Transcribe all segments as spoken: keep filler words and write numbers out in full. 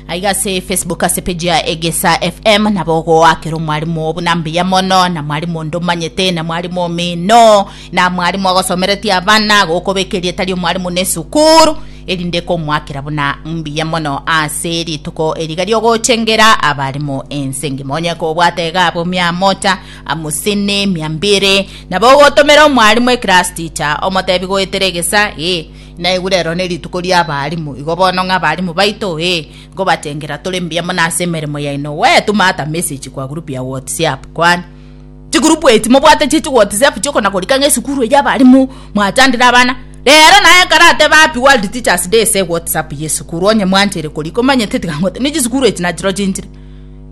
Aiga ase Facebook, ase page ya Egesa F M, nabo ogoakera omwarimu buna mbuya mono, na mwarimu onde omanyete, na mwarimu omino, na mwarimu agosomeretie abana, gokobeka erieta ria omwarimu na esukuru, erinde komwakera buna mbuya mono ase rituko eriga riogochengera abarimu ense engima. Onye kobwate iga abo mia moja amusini, mia mbili, nabo ogotomera omwarimu, eclass teacher, omotebi goetera Egesa eh naigu rero ne rituko ria abarimu. Igo bono ng'a abarimu baito eh ngobatengera tore mbuya mono ase emeremo yaino. We tuma ata message kwa group ya WhatsApp, kwani chigurupu eti mobwate chichi WhatsApp chiokona korika ng'a esukuru eyi abarimu mwachandire abana rero, naye karateba "Happy World Teachers Day" ase WhatsApp yesukuru. Onye mwanchere korika omanyete tigangote ni chisukuru echi nachiro chinchire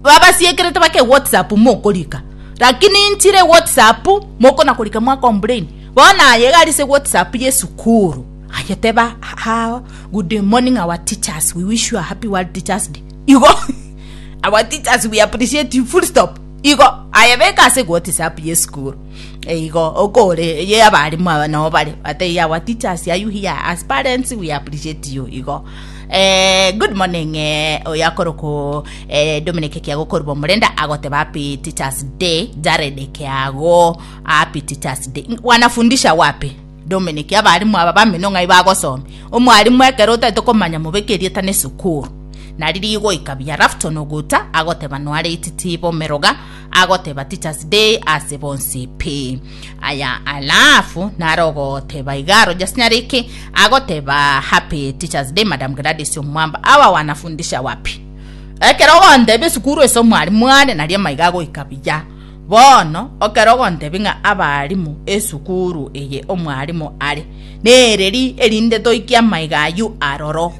babasiekerete bake WhatsApp mokorika, lakini nchire WhatsApp mokona korika mwa complain. Bono aye gari ase WhatsApp yesukuru aye teba ha, "Good morning, our teachers, we wish you a happy World Teachers Day." Igo, "Our teachers, we appreciate you," full stop. Igo aye beka ase WhatsApp yesukuru igo okore ye abarimu aba nabo bare ate, "Our teachers, are you here? As parents, we appreciate you." Igo eh, good morning. eh, oyo akoroko eh, Dominic Kiago koruba Omorenda, agoteba "Happy Teachers Day." Jared Kiago, "Happy Teachers Day." Wanafundisha wapi, Dominic? Abarimu aba bamino ng'ai bagosoma? Omwarimu ekero otaete komanya, mobeke erieta na esukuru nari rigoika buya. Rafton Oguta agoteba noare ititi bomeroga, agoteba "Teachers Day" ase bonsi pi. Aya, alafu narogoteba igaro Jasnyariki agoteba "Happy Teachers Day, Madam Gladys Omwamba." Awa wanafundisha wapi? Ekero ogontebia esukuru ase omwarimu are, nari amaiga agoika buya. Bono ekero ogontebia ng'a abarimu esukuru eye omwarimu are nereri, erinde toikia amaiga ayu aroro.